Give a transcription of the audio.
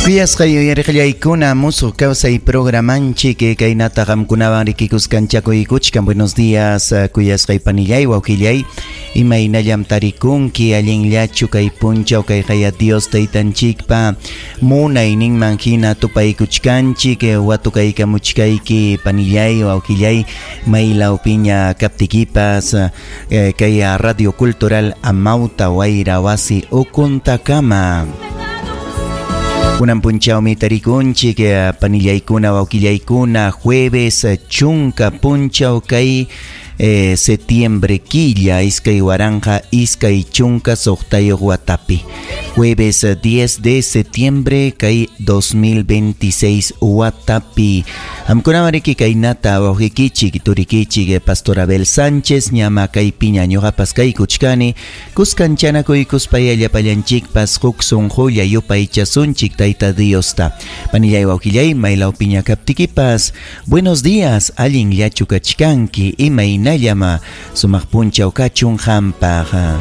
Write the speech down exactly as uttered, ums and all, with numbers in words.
Kuyasqay uyariqllaykuna musuq kawsay programanchik kaynata qamkunawan rikikuskanchakuykuchkan. Buenos días, kuyasqay panillay, wawqillay, imaynallam tarikunki, allinllachu kay punchaw kay qaya Dios taytanchikpa munayninman hina tupaykuchkanchik, watukaykamuchkayki panillay, wawqillay, maylawpiña kaptikipas kay Radio Cultural Amauta Wayra Wasi ukuntakama. Kunan punchawmi tarikunchik panillaykuna wawqillaykuna jueves chunka punchaw kay eh, septiembre killa iskay waranqa iskay chunka suqtayuq watapi. Jueves diez de septiembre kay dos mil veintiséis watapi. Qamkunawan riki kaynata wawqikichik turikichik Pastor Abel Sánchez ñama kaypiña ñuqapas kaykuchkani kuskanchanakuykuspaya llapallanchikpas huk sunqulla yupaychasunchik Tayta Diosta. Panillay wawqillay maylawpiña kaptikipas buenos días, allinllachu kachkanki, imaynallama sumaq punchaw kachun qampaq.